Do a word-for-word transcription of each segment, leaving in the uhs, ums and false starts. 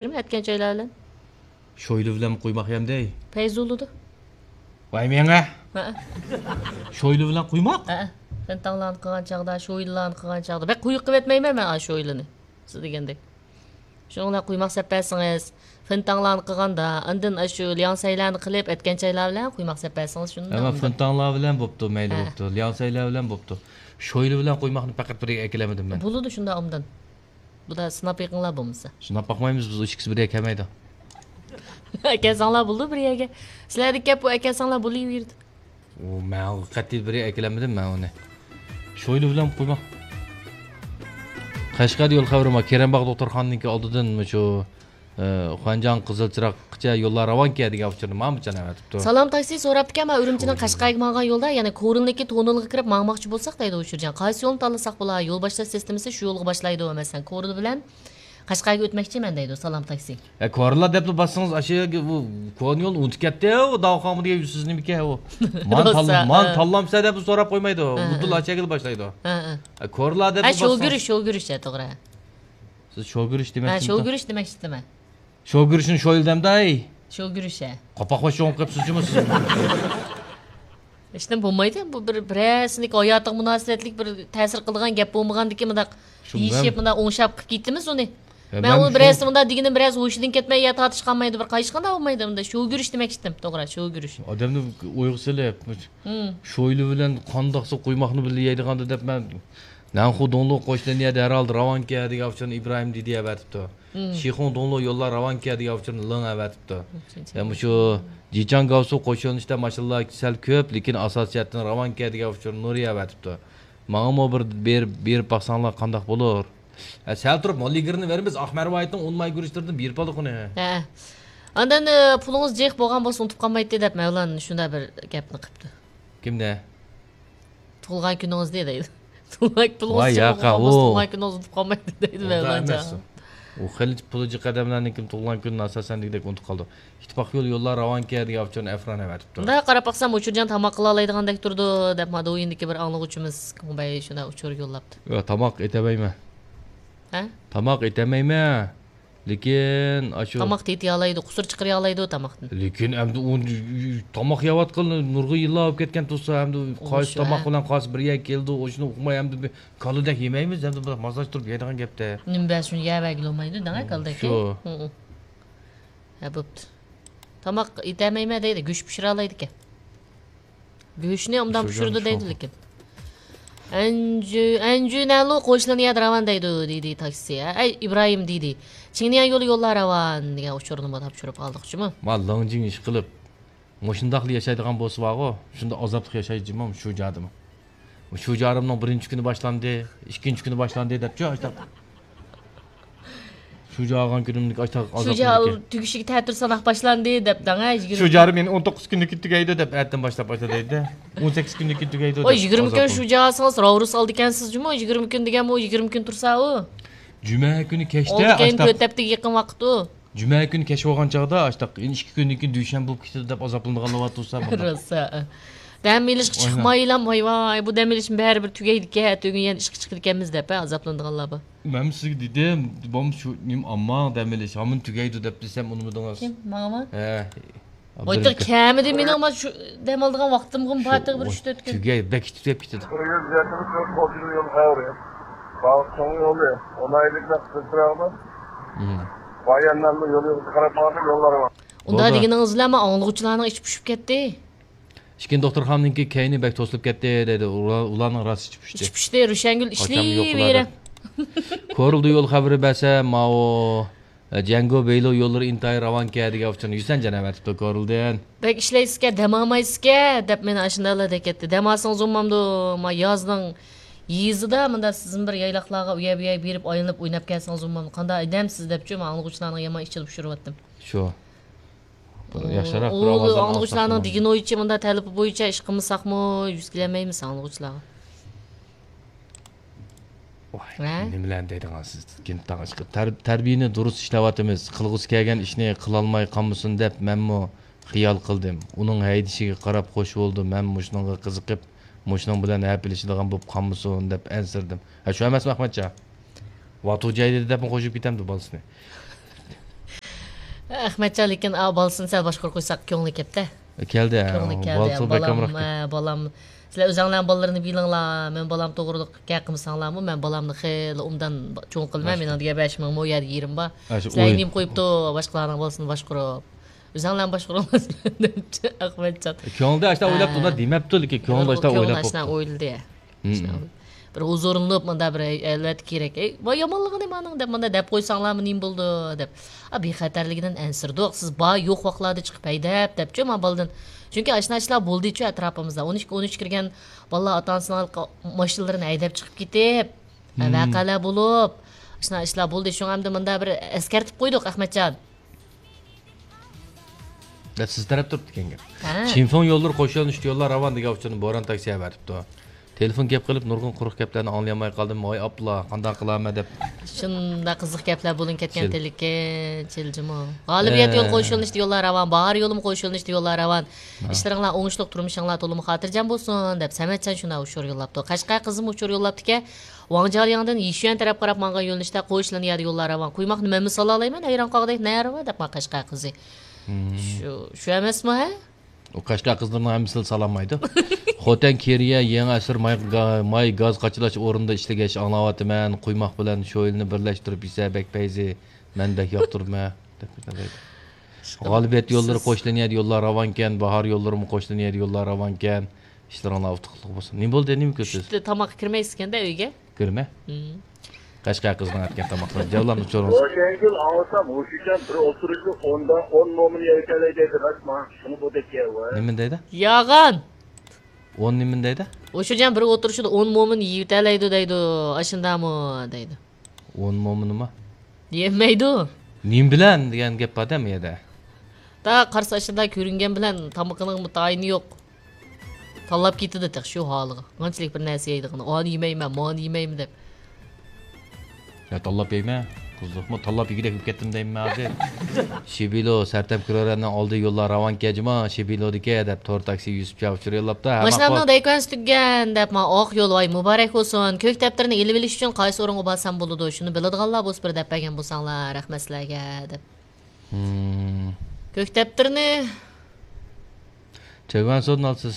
ئەتكەن چايلار بىلەن. شويلا بىلەن قۇيماق يەمدەي. پەيزى بولىدۇ. ۋاي مېڭە. ھەئە. شويلا بىلەن قۇيماق؟ ھەئە. فېنتاڭلارنى قىلغان چاغدا، شويلىلارنى قىلغان چاغدا. بەك قويۇق قىلىۋەتمەيمەن مەن ئاشۇ شويلىنى. سىز دېگەندەك. شۇنىڭ بىلەن قۇيماق سەپ بەرسىڭىز، فېنتاڭلارنى قىلغاندا، ئاندىن ئاشۇ لياڭسەيلەرنى قىلىپ، ئەتكەن چايلار بىلەن قۇيماق سەپ بەرسىڭىز، شۇنداق. ھە، مەن ئۇندىن. فېنتاڭلار بىلەن بوپتۇ، مەيلى ھە. بوپتۇ. لياڭسەيلەر بىلەن بوپتۇ. شويلا بىلەن قۇيماقنى پەقەت بىرگە ئەكېلەلمىدىم مەن. بولىدۇ شۇنداق ئوبدان. بۇدا سىناپ بېقىڭلار بولمىسا. سىناپ باقمايمىز، بىز ئىككىسى بىر يەرگە كەلمەيدۇ. ئەكەلسەڭلار بولىدۇ بىر يەرگە. سىلەردىكى گەپ بۇ، ئەكەلسەڭلار بولۇۋېرىدۇ. ئۇ، مەن قەتئىي بىر يەرگە ئەكېلەلمىدىم مەن ئۇنى. شويلا بىلەن قۇيماق. قەشقەردە يول خەۋىرى بار. كېرەمباغ دوختۇرخانىنىڭكى ئالدىدىن مۇشۇ، ئە، خۇەنجاڭ قىزىل چىراغقىچە يوللار راۋانكەن دېگەن ئۇچۇرنى ماڭا بىر جان ئەۋەتىپتۇ. سالام تاكسى سوراپتىكەن، مەن ئۈرۈمچىنىڭ قەشقەرگە ماڭغان يولدا، يەنى كورلىنىڭكى توننېلغا كىرىپ ماڭماقچى بولساق دەيدۇ ئۇچۇرجان. قايسى يولنى تاللىساق بولا؟ يول باشلاش سىستېمىسى شۇ يولغا باشلايدۇ، مەسىلەن، كورل بىلەن قەشقەرگە ئۆتمەكچىمەن دەيدۇ سالام تاكسى. ئە، كورلا دەپلا باسسىڭىز، ئاشۇ يەرگە ئۇ كونا يولنى ئۇنتۇپ كەتتى، ئۇ داۋاخانغا دېگەن يۈزسىز نېمىكەن ئۇ. مان روسا، تاللا-، مان ھە. تاللامسە دەپ سوراپ قويمايدۇ. ھە، ھە. ئۇدۇل ئاشۇ يەرگىلا باشلايدۇ. ھە، ھە. ئە، كورلا دەپ ھە، باسسىڭىز. شوگۈرۈش، شوگۈرۈش، ھە، توغرا. سىز شوگۈرۈش ھە، دېمەكچىمىسىز؟ شوگۈرۈش دېمەكچىدىمەن. شوگۈرۈشنى شويلا دەمداي. شوگۈرۈش، ھە. قاپاق باش چوڭ قىپسىزچىمۇ سىز؟ ھېچنېمە بولمايدۇ. بۇ بىر، بىرەرسىنىڭكى ھاياتىغا مۇناسىۋەتلىك بىر تەسىر قىلىدىغان گەپ بولمىغاندىكىن مۇنداق شۇ دېيىشىپ، مەن مۇنداق ئوڭشاپ قىلىپ كېتىمىز ئۇنى. ھە، مەن مەن ئۇنى شۇ بىرەرسى مۇنداق دېگىنىم بىرەرسى ھوشىدىن كەتمەي يا تارتىشقانمايدۇ، بىر قايىشقاندا بولمايدۇ ئۇنداق. شوگۈرۈش دېمەكچىدىم، توغرا، شوگۈرۈش. ئادەمنى ئويغا سېلىپ، ھىم. شويلا بىلەن قانداقسا قۇيماقنى بىللە يەيدىغاندۇ دەپ مەن نەنخۇ دۇڭلۇ قوشنا يەردە ھەر ھالدا راۋانكەن دېگەن ئۇچۇرنى ئىبراھىم دېدى ئەۋەتىپتۇ. مم. شىخۇڭ دۇڭلۇ يوللار راۋانكەن دېگەن ئۇچۇرنى لېڭ ئەۋەتىپتۇ. مم. يا مۇشۇ جىچاڭ گاۋسۇ قوشۇن ئىچىدە ماشىنىلار سەل كۆپ، لېكىن ئاساسىي جەھەتتىن راۋانكەن دېگەن ئۇچۇرنى نۇرى ئەۋەتىپتۇ. ماڭىمۇ بىر بېرىپ، بېرىپ باقساڭلار قانداق بولۇر؟ ھە، سەل تۇرۇپ موللىگىرنى بېرىمىز، ئاق مەرۋايىتنىڭ ئۇن ماي گۈرۈچلىرىدىن بېرىپ باققىنى. ھە. ئاندىن، ئە، پۇلىڭىز جىق بولغان بولسا ئۇنتۇپ قالمايتتى دەپ مەۋلان شۇنداق بىر گەپنى قىپتۇ. كىمدە؟ تۇغۇلغان كۈنىڭىزنى دەيدۇ. تۇغۇلغان پۇلىڭىز ۋاي، جىق ياقا، بولغان بولسا ئۇ. تۇغۇلغان كۈنىڭىزنى ئۇنتۇپ قالمايتتى دەيدۇ ئۇنداق مەۋلان ئەمەس جان. ئۇ. ئۇ خېلى پۇلى جىق ئادەملەرنىڭكى تۇغۇلغان كۈنىنى ئاساسەن دېگۈدەك ئۇنتۇپ قالىدۇ. ئىتتىپاق يول يوللار راۋانكەن دېگەن ئۇچۇرنى ئەفران ئەۋەتىپتۇ. مۇنداق قاراپ باقسام، ئۇچۇرجان تاماق قىلالايدىغاندەك تۇرىدۇ، دەپ ما دوۋيىندىكى بىر ئاڭلىغۇچىمىز كۇڭبەي شۇنداق ئۇچۇر يوللاپتۇ. ياق، تاماق ئېتەلمەيمەن. ھە؟ تاماق ئېتەلمەيمەن. لېكىن ئاشۇ تاماق تېتىيالايدۇ، قۇسۇر چىقىرىيالايدۇ تاماقتىن. لېكىن ئەمدى ئۇ تاماق يەۋاتقىلى نۇرغۇن يىللار بولۇپ كەتكەن تۇرسا، ئەمدى قايسى ئۇشۇ، تاماق ھە. بىلەن قايسى بىر يەرگە كېلىدۇ، ئۇشۇنى ئۇقماي ئەمدى بىر كالىدەك يېمەيمىز، ئەمدى بىر ماسلاشتۇرۇپ يەيدىغان گەپتە. نېمە بەرسۇن يەۋەرگىلى بولمايدۇ، دەڭە كالىدەك. شۇ. ھە، بوپتۇ. تاماق ئېتەلمەيمەن دەيدۇ، گۆش پىشۇرالايدىكەن. گۆشنى ئوبدان پىشۇرىدۇ دەيدۇ لېكىن. ئەنجۈ-، ئەنجۈنەلۇ قوشنىنى ياد راۋان دەيدۇ، دېدى تاكسى. ئەي، ئىبراھىم دېدى. چىڭنىيەن يولى يوللار راۋان دېگەن ئۇچۇرنىمۇ تاپشۇرۇپ ئالدۇق جۇمۇ. ما لىڭجىڭ ئىشقىلىپ، مۇشۇنداقلا ياشايدىغان بولسا بارغۇ، شۇنداق ئازابلىق ياشايدۇ جۇمۇ، شۇ جادىمۇ. شۇ جارىمنىڭ بىرىنچى كۈنى باشلاندى، ئىككىنچى كۈنى باشلاندى دەپچۇ، ئاشتاق. شۇجا ئالغان كۈنۈمدىكى ئاشتاق شۇجا ئازابلىقتىكى. تۈگىشىگە تەتۈر ساناق باشلاندى دەپ دەڭە، يىگىرمە شۇجا مېنى ئون توققۇز كۈننىڭ كۈنى تۈگەيدۇ دەپ، ئەتىدىن باشلاپ باشلا دەيدۇ. ئون سەككىز كۈننىڭ كۈنى تۈگەيدۇ ۋاي، دەپ يىگىرمە كۈن ئازابلىق. شۇجا ئالسىڭىز، راۋرۇس ئالىدىكەنسىز جۇمۇ، يىگىرمە كۈن دېگەنمۇ يىگىرمە كۈن تۇرسا ئۇ. جۈمە كۈنى كەچتە ئۇنىڭدىن كېيىن ئاشتاق. تۆت ھەپتىگە يېقىن ۋاقىت ئۇ. جۈمە كۈنى كەچ بولغان چاغدا ئاشتاق، يەنە ئىككى كۈندىن كېيىن دۈشەنبە بولۇپ كېتىدۇ دەپ ئازابلىنىدىغانلار بار تۇرسا بۇنداق. روسا. دەم ئېلىشقا ئاينا. چىقمايلا، ۋاي ۋاي، بۇ دەم ئېلىشمۇ بەرىبىر تۈگەيدىكەن، ئەتىگۈن يەنە ئىشقا چىقىدىكەنمىز دەپ، ھە، ئازابلىنىدىغانلار بار. مەن سىزگە دېدىم، بوم شۇ نېمە ئامما دەم ئېلىش، ھامان تۈگەيدۇ دەپ دېسەم ئۇنىمىدىڭىز. كىم؟ ماڭىمۇ؟ ھە. ۋايتىر كەمىدى مېنىڭ ما شۇ دەم ئالىدىغان ۋاقتىمغىمۇ بار تېخى بىر ئۈچ تۆت كۈن. تۈگەي، بەك تۈگەپ كېتىدۇ. بىر يۈز يەتمىش تۆت قوشۇن يول خەۋىرى. باغ چوڭ يولى. ئون ئايلىق قىزچىراغدا. مم. بايانلارنىڭ يولىغا قاراپ ماڭغان يوللار بار. ئۇنداق بولدى. دېگىنىڭىز بىلەن ما ئاڭلىغۇچىلارنىڭ ئىچى پۇشۇپ كەتتى. ئىككىنچى دوختۇرخانىنىڭكى كەينى بەك توسۇلۇپ كەتتى دەيدۇ. ئۇلار، ئۇلارنىڭ راست ئىچى پۇشتى. ئىچى پۇشتى، روشەنگۈل قاچانمۇ يوقىلار ئىشلەيۋېرە. دەپ. كورلىدا يول خەۋىرى بەرسە، ماۋۇ، ئە، جيەنگو بېيلو يوللىرى ئىنتايىن راۋانكەن دېگەن ئۇچۇرنى يۈسەنجان ئەۋەتىپتۇ كورلىدىن. بەك ئىشلەيسىزكەن، دەم ئالمايسىزكەن دەپ مېنى ئاشۇنداقلا دەپ كەتتى. دەم ئالسىڭىز بولمامدۇ؟ ما يازنىڭ يېزىدا مۇنداق سىزمۇ بىر يايلاقلارغا ئۇ يەر بۇ يەرگە بېرىپ ئايلىنىپ ئويناپ كەلسىڭىز بولمامدۇ؟ قانداق ئادەمسىز دەپچۇ، ما ئاڭلىغۇچىلارنىڭ يامان ئىچىدە پۇشۇرۇۋەتتىم. شۇ. بىر ياخشىراق بىر ئۇ ئاۋازلارنى ئاڭلىغۇچىلارنىڭ ئالساق دېگىنى بولىدۇ. بويىچە مۇنداق تەلىپى بويىچە ئىش قىلمىساقمۇ يۈز كېلەلمەيمىز ئاڭلىغۇچىلارغا. ۋاي، ھە؟ نېمىلەرنى دەيدىغانسىز، گىنتاڭ ئىشقىلىپ. تەر-، تەربىيىنى دۇرۇس ئىشلەۋاتىمىز. قىلغۇسى كەلگەن ئىشنى قىلالماي قالمىسۇن دەپ مەنمۇ خىيال قىلدىم. ئۇنىڭ ھەيدىشىگە قاراپ خوش بولدۇم. مەن مۇشۇنىڭغا قىزىقىپ، مۇشۇنىڭ بىلەن ھەپىلىشىدىغان بولۇپ قالمىسۇن دەپ ئەنسىرىدىم. ھە، شۇ ئەمەسمۇ ئەخمەتجان؟ ۋاتۇ جايدىدى دەپمۇ قوشۇپ كېتەمدۇ بالىسىنى؟ ئەخمەتجان، لېكىن ئا، بالىسىنى سەل باشقۇرۇپ قويساق كۆڭلى كەپتە. كەلدى، ھە، كۆڭلى كەلدى. بالىسى بەك بالام، ئامراق. ئە، بالام. سىلەر ئۆزەڭلارنىڭ بالىلىرىنى بىلىڭلار، مەن بالام توغرىلىق گەپ قىلمىساڭلارمۇ، مەن بالامنى خېلى ئوبدان چوڭ قىلىمەن، مېنىڭ دېگەن بەش مىڭ مو يەردە يېرىم بار. سىلەر نېمە قويۇپتۇ، باشقىلارنىڭ بالىسىنى باشقۇرۇپ. ئۆزەڭلارنى باشقۇرۇڭلار دەپتۇ ئەخمەتجان. كۆڭلىدە ئاشۇنداق ئويلاپتۇ، ئۇنداق دېمەپتۇ، لېكىن كۆڭلىدە ئاشۇنداق ئويلاپ بوپتۇ. ئويلىدى. بىر ھۇزۇرلىنىپ، مۇندا بىر، ئەلۋەتتە كېرەك. ئەي، ۋاي، يامانلىقى نېمە ئانىڭ دەپ، مۇندا دەپ قويساڭلارمۇ نېمە بولىدۇ دەپ. ئا، بىخەتەرلىكىدىن ئەنسىرىدۇق. سىز بار يوق ۋاقىتلاردا چىقىپ ھەيدەپ دەپچۇ مانا بالىدىن. چۈنكى ئاشۇنداق ئىشلار بولدىچۇ ئەتراپىمىزدا. ئون ئىككى، ئون ئۈچ كىرگەن بالىلار ئاتا ئانىسىنىڭ ماشىنىلىرىنى ھەيدەپ چىقىپ كېتىپ، ۋەقەلەر بولۇپ، ئاشۇنداق ئىشلار بولدى. شۇڭا ئەمدى مۇندا بىر ئەسكەرتىپ قويدۇق، ئەخمەتجان. دەپ سىز تەرەپ تۇرۇپتىكەن گەپ. ھە. چىنفېڭ يوللىرى قوش يۆنىلىشتە يوللار راۋان دېگەن ئۇچۇرنى بوران تاكسى ئەۋەتىپتۇ. تېلېفون گەپ قىلىپ نۇرغۇن قۇرۇق گەپلەرنى ئاڭلىيالماي قالدىم. ۋاي ئاپلا، قانداق قىلارمەن دەپ. شۇنداق قىزىق گەپلەر بولۇنۇپ كەتكەن تېلېكەن، چىلجىمۇ. غالىبىيەت يولى قوش يۆنىلىشتە يوللار راۋان، باھار يولىمۇ قوش يۆنىلىشتە يوللار راۋان. ئىشلىرىڭلار ئوڭۇشلۇق، تۇرمۇشۇڭلار تولىمۇ خاتىرجەم بولسۇن دەپ سەمەتجان شۇنداق ئۇچۇر يوللاپتۇ. قەشقەر قىزىمۇ ئۇچۇر يوللاپتىكەن. ۋاڭ جياڭلىياڭدىن يىشۈەن تەرەپ قاراپ ماڭغان يۆنىلىشتە قوش لىنىيەدە يوللار راۋان. قۇيماقنى مەنمۇ سالالايمەن، ھەيران قالغۇدەك نەرۋا دەپ ماڭا قەشقەر قىزى. شۇ، شۇ ئەمەسمۇ، ھە؟ ئۇ قەشقەر قىزلىرىنىڭ ھەممىسىلا سالالمايدۇ. خوتەن كېرىيە يېڭى ئەسىر ماي، گا-، ماي گاز قاچىلاش ئورنىدا ئىشلىگەچ ئاڭلاۋاتىمەن. قۇيماق بىلەن شويلىنى بىرلەشتۈرۈپ يېسە بەك پەيزى. مەن بەك ياقتۇرىمەن. دەپ كېتەلەيدۇ. غالىبىيەت يوللىرى قوش لىنىيەدە يوللار راۋانكەن، باھار يوللىرىمۇ قوش لىنىيەدە يوللار راۋانكەن. ئىشلىرىڭلار ئۇتۇقلۇق بولسۇن. نېمە بولدى، نېمە كۆرىسىز؟ چۈشتە تاماققا كىرمەيسىكەن-دە ئۆيگە. كىرمە. قەشقەر قىزنىڭ ئەتكەن تاماقلىرى. جەۋلان ئۇچۇرىڭىز. روشەنگۈل ئاڭلىسام، ھوشۇچان بىر ئولتۇرۇشتا ئوندا ئون مومىن يەيتەلەي دەيدۇ، راستما؟ شۇنى بۇ دەپ كەۋە. نېمىنى دەيدۇ؟ ياغان. ئون نېمىنى دەيدۇ؟ ھوشۇچان بىر ئولتۇرۇشتا ئون مومىن يېيىۋېتەلەيدۇ دەيدۇ. ئاشۇنداقمۇ دەيدۇ. ئون مومىنىما؟ يېمەيدۇ. نېمە بىلەن دېگەن گەپ بار-دە بۇ يەردە. تا قارىسا ئاشۇنداق كۆرۈنگەن بىلەن تامىقىنىڭمۇ تايىنى يوق. تاللاپ كېتىدۇ تېخى شۇ ھالىغا. قانچىلىك بىر نەرسە يەيدىغىنى. ئانى يېمەيمەن، مانى يېمەيمەن دەپ. يا تاللاپ يەيمەن. قىزىقمۇ تاللاپ يېگۈدەك بولۇپ كەتتىم دەيمەن ھازىر. شىبىلو، سەرتەم كرورەننىڭ ئالدى يوللار راۋانكەن جۇما، شىبىلودىكى دەپ تور تاكسى يۈسۈپ چا ئۇچۇر يوللاپتۇ. ھە، ماشىنامنىڭ دەيكۈەنسى تۈگىگەن دەپ، ما ئاق يول، ۋاي مۇبارەك بولسۇن. كۆك دەپتىرنى ئېلىۋېلىش ئۈچۈن قايسى ئورۇنغا بارسام بولىدۇ؟ شۇنى بىلىدىغانلار بولسا بىر دەپ بەرگەن بولساڭلار، رەھمەت سىلەرگە دەپ. كۆك دەپتىرنى چۆگەنسودىن ئالىسىز.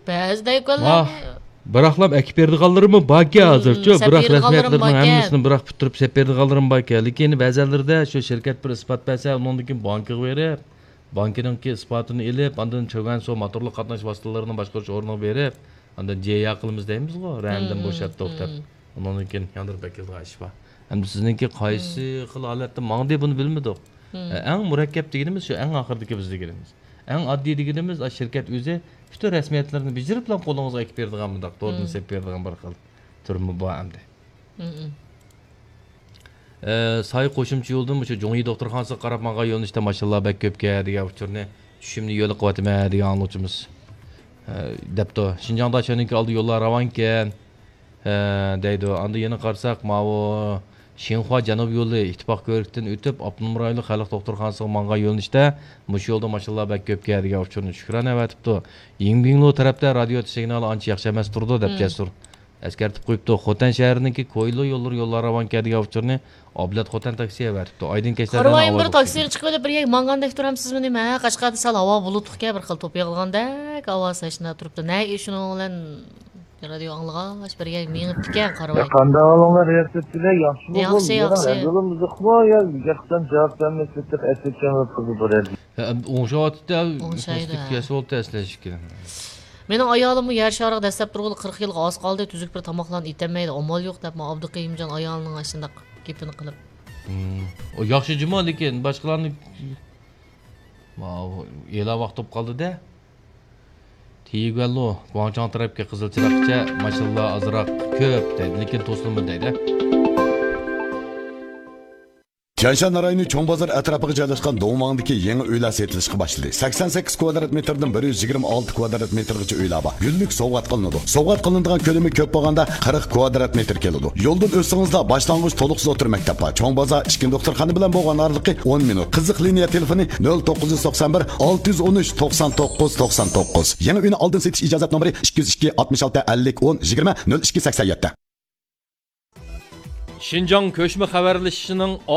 بەزى دەيكۈەنلەرنى بىراقلام ئەكىپ بېرىدىغانلىرىمۇ باركەن ھازىرچۇ. بىراق رەسمىيەتلەرنىڭ ھەممىسىنى بىراق پۈتتۈرۈپ سېلىپ بېرىدىغانلىرىمۇ باركەن. لېكىن بەزەنلىرىدە شۇ شىركەت بىر ئىسپات بەرسە، ئۇنىڭدىن كېيىن بانكىغا بېرىپ، بانكىنىڭكى ئىسپاتىنى ئېلىپ، ئاندىن چۆگەنسو موتورلۇق قاتناش ۋاسىتىلىرىنى باشقۇرۇش ئورنىغا بېرىپ، ئاندىن جيا قىلىمىز دەيمىزغۇ، رەندىن بوشاتتۇق دەپ. ئۇنىڭدىن كېيىن ياندۇرۇپ ئەكېلىدىغان ئىش بار. ئەمدى سىزنىڭكى قايسى خىل ھالەتتە ماڭدى، بۇنى بىلمىدۇق. ئەڭ مۇرەككەپ دېگىنىمىز شۇ، ئەڭ ئاخىرىدىكى بىز دېگىنىمىز. ئەڭ ئاددىي دېگىنىمىز، ئا، شىركەت ئۆزى پۈتۈن رەسمىيەتلىرىنى بېجىرىپلا قولىڭىزغا ئەكىپ بېرىدىغان، مۇنداق توردىن سېلىپ بېرىدىغان بىر خىل تۈرمۇ بار ئەمدى. ئە، ساي قوشۇمچە يولدىن مۇشۇ جۇڭيى دوختۇرخانىسىغا قاراپ ماڭغان يۆنىلىشتە ماشىنىلار بەك كۆپكەن دېگەن ئۇچۇرنى چۈشۈمدە يول قىلىۋاتىمەن دېگەن ئاڭلىغۇچىمىز، ئە، دەپتۇ. شىنجاڭدا شۇنىڭكى ئالدى يوللار راۋانكەن، ئە، دەيدۇ. ئاندىن يەنە قارىساق، ماۋۇ شىنخۇا جەنۇب يولى ئىتتىپاق كۆۋرۈكتىن ئۆتۈپ، ئاپتونوم رايونلۇق خەلق دوختۇرخانىسىغا ماڭغان يۆنىلىشتە مۇشۇ يولدا ماشىنىلار بەك كۆپكەن دېگەن ئۇچۇرنى شۈكرانە ئەۋەتىپتۇ. يىڭبىڭلۇ تەرەپتە رادىيو سىگنالى ئانچە ياخشى ئەمەس تۇرىدۇ، دەپ جەسۇر. ئەسكەرتىپ قويۇپتۇ. خوتەن شەھىرىنىڭكى كويلۇ يوللىرى يوللار راۋانكەن دېگەن ئۇچۇرنى ئابلەت خوتەن تاكسى ئەۋەتىپتۇ. ئايدىن كەچلەردىن قارىۋايىم، بىر تاكسىنى چىقىۋېلىپ بىر يەرگە ماڭغاندەك تۇرامسىزمۇ نېمە؟ ھە، قەشقەردە سەل ھاۋا بۇلۇتلۇقكەن، بىر خىل توپا يىغىلغاندەك ھاۋا ساچنا تۇرۇپتۇ. نە شۇنىڭ بىلەن رادىيو ئاڭلىغاچ بىر يەرگە مېڭىپتىكەن، قارىۋاي. قانداق ئاڭلاڭلار، رىياسەتچىلەر ياخشىمۇ؟ ياخشى، ياخشى. يولىمىز زىقمۇ يا؟ گەپتىن جاۋاب بەرمەي سېتىپ ئەسلىكەن قىزى بۇ يەردە. ھە، ئەمدى ئوڭشاۋاتىدۇ. ئوڭشايدۇ، ھە. كەسىۋالدى ئەسلى ئىككى. مېنىڭ ئايالىممۇ يەر شارىغا دەسسەپ تۇرغىلى قىرىق يىلغا ئاز قالدى، تۈزۈك بىر تاماقلارنى ئېتەلمەيدۇ، ئامال يوق دەپ، مانا ئابدۇقېيۇمجان ئايالىنىڭ ئاشۇنداق گېپىنى قىلىپ. ئۇ ياخشى جۇمۇ، لېكىن باشقىلارنى، ماۋۇ ئېلا ۋاقىت بولۇپ قالدى-دە. تىيىگۈەنلۇ، گۇاڭچاڭ تەرەپكە قىزىل چىراغقىچە ماشىنىلار ئازراق كۆپ دەيدۇ، لېكىن توسۇلمىدى دەيدۇ. تيەنشان رايونى چوڭ بازار ئەتراپىغا جايلاشقان دۇڭۋاڭدىكى يېڭى ئۆيلەر سېتىلىشقا باشلىدى. سەكسەن سەككىز كۋادرات مېتىردىن بىر يۈز يىگىرمە ئالتە كۋادرات مېتىرغىچە ئۆيلەر بار. گۈللۈك سوۋغات قىلىنىدۇ. سوۋغات قىلىنىدىغان كۆلىمى كۆپ بولغاندا قىرىق كۋادرات مېتىر كېلىدۇ. يولدىن ئۆتسىڭىزلا باشلانغۇچ تولۇقسىز ئوتتۇرا مەكتەپ بار. چوڭ بازار ئىككى دوختۇرخانا بىلەن بولغان ئارىلىقى ئون مىنۇت. قىزىق لىنىيە تېلېفونى نۆل توققۇز يۈز توقسان بىر، ئالتە يۈز ئون ئۈچ، توقسان توققۇز، توقسان توققۇز. يېڭى ئۆينى ئالدىن سېتىش ئىجازەت نومۇرى ئىككى يۈز ئىككى، ئاتمىش ئالتە، ئەللىك، ئون، يىگىرمە، نۆل ئىككى، سەكسەن يەتتە. شىنجاڭ كۆچمە خەۋەرلىشىشىنىڭ